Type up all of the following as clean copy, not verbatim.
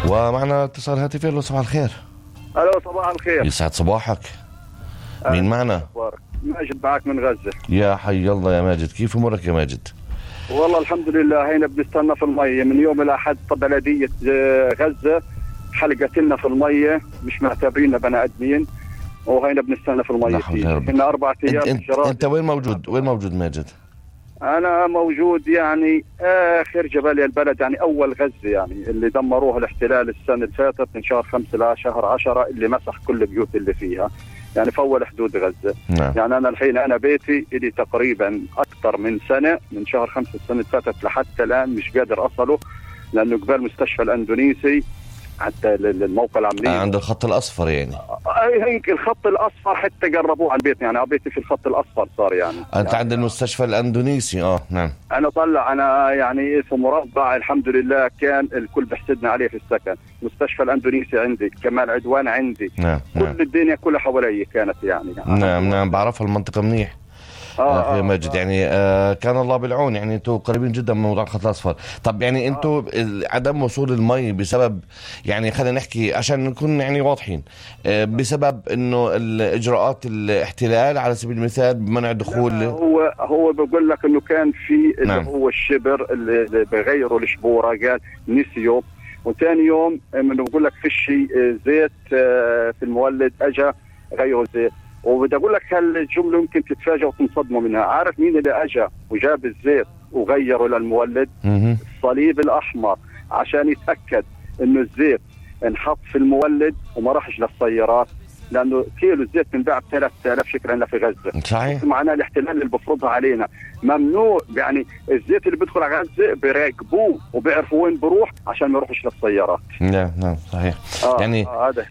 ومعنا اتصال هاتفي. له صباح الخير. الو صباح الخير. يسعد صباحك. مين معنا؟ ماجد معك من غزة. يا حي الله يا ماجد، كيف امورك يا ماجد؟ والله الحمد لله، هينا بنستنى في المية من يوم الأحد. بلدية غزة حلقت لنا في المية، مش معتبريننا بني آدمين، وهينا بنستنى في المية. هنا 4 أيام. انت وين موجود؟ وين موجود ماجد؟ أنا موجود يعني آخر جباليا البلد، يعني أول غزة، يعني اللي دمروها الاحتلال السنة اللي فاتت من شهر 5 لشهر 10، اللي مسح كل البيوت اللي فيها، يعني في أول حدود غزة. نعم. يعني أنا الحين أنا بيتي إلي تقريبا أكثر من سنة، من شهر 5 السنة اللي فاتت لحتى الآن مش قادر أصله، لأنه قبال مستشفى الأندونيسي حتى الموقع العملي عند الخط الأصفر. يعني هيك الخط الأصفر حتى قربوه على البيت، يعني بيتي في الخط الأصفر صار. يعني أنت عند المستشفى الأندونيسي. نعم. أنا طلع أنا يعني في مربع الحمد لله، كان الكل بحسدنا عليه في السكن. مستشفى الأندونيسي عندي، كمال عدوان عندي. نعم. كل الدنيا كلها حوالي كانت يعني. نعم بعرفها المنطقة منيح. أخي ماجد يعني كان الله بالعون. يعني انتوا قريبين جدا من موضوع الخط الاصفر. طب يعني انتوا عدم وصول المي بسبب، يعني خلينا نحكي عشان نكون يعني واضحين، بسبب انه الاجراءات الاحتلال على سبيل المثال بمنع دخول. هو بقول لك انه كان في نعم. اللي هو الشبر اللي بغيروا الشبوره، قال نسيوا. وثاني يوم انه بقول لك فيش زيت في المولد، اجى غيروا زيت. وبدي اقول لك هالجمله يمكن تتفاجئ وتنصدموا منها. عارف مين اللي اجى وجاب الزيت وغيره للمولد؟ الصليب الاحمر، عشان يتاكد انه الزيت انحط في المولد وما راحش للسيارات، لانه كيلو الزيت بنباع ب 3000 شكرا في غزه. صحيح. معناه الاحتلال اللي بفرضها علينا ممنوع، يعني الزيت اللي بيدخل على غزه بيراقبوه وبيعرفوا وين بروح عشان ما يروحش للسيارات. نعم صحيح.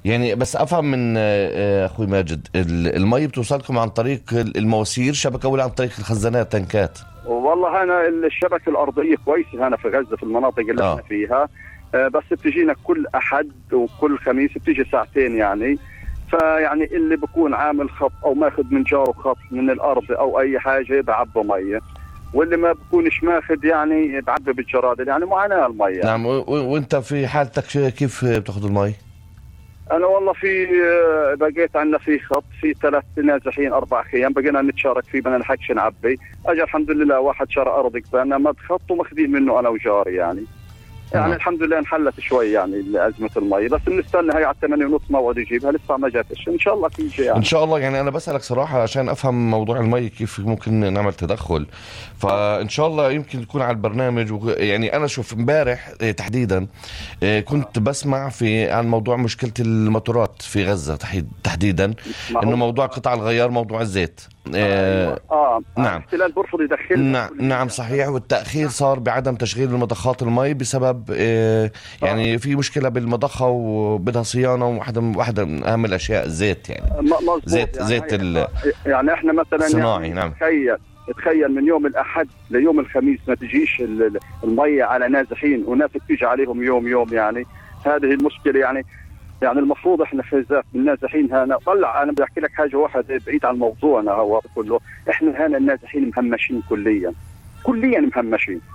يعني بس افهم من اخوي ماجد، المي بتوصلكم عن طريق المواسير شبكه ولا عن طريق الخزانات تنكات؟ والله انا الشبكه الارضيه كويسه هنا في غزه في المناطق اللي احنا فيها، بس بتجينا كل احد وكل خميس بتيجي ساعتين يعني. فيعني اللي بكون عامل خط او ماخذ من جاره خط من الارض او اي حاجه بعبوا ميه، واللي ما بكونش ماخذ يعني بعبي بالجرادل. يعني معاناه الميه. نعم. وانت في حالتك كيف بتاخذ المي؟ انا والله في بقيت عندنا في خط في 3 نازحين 4 خيام، بقينا نتشارك فيه، بدنا نحكش نعبي. اجى الحمد لله واحد شرى ارض قبالنا مد خط وماخذين منه انا وجاري يعني. يعني الحمد لله انحلت شوي يعني أزمة المي، بس بنستنى هي على 8:30 موعد يجيبها، لسه ما جاتش. ان شاء الله تيجي يعني. ان شاء الله. يعني انا بسألك صراحة عشان افهم موضوع المي كيف ممكن نعمل تدخل، فان شاء الله يمكن تكون على البرنامج. يعني انا شوف امبارح تحديدا كنت بسمع عن موضوع مشكلة الموتورات في غزة تحديدا، انه موضوع قطع الغيار، موضوع الزيت. نعم. الاحتلال برفض يدخلنا. نعم صحيح. والتأخير صار بعدم تشغيل المضخات المي بسبب يعني في مشكلة بالمضخة وبدها صيانة، واحدة من أهم الأشياء الزيت. يعني زيت يعني احنا مثلا صناعي. يعني نعم. تخيل من يوم الأحد ليوم الخميس ما تجيش المية على نازحين، وناس تيجي عليهم يوم يعني. هذه المشكلة يعني المفروض احنا في ذات النازحين هنا. طلع انا بدي احكي لك حاجه واحده بعيد عن الموضوع، انا هو كله احنا هنا النازحين مهمشين كليا مهمشين.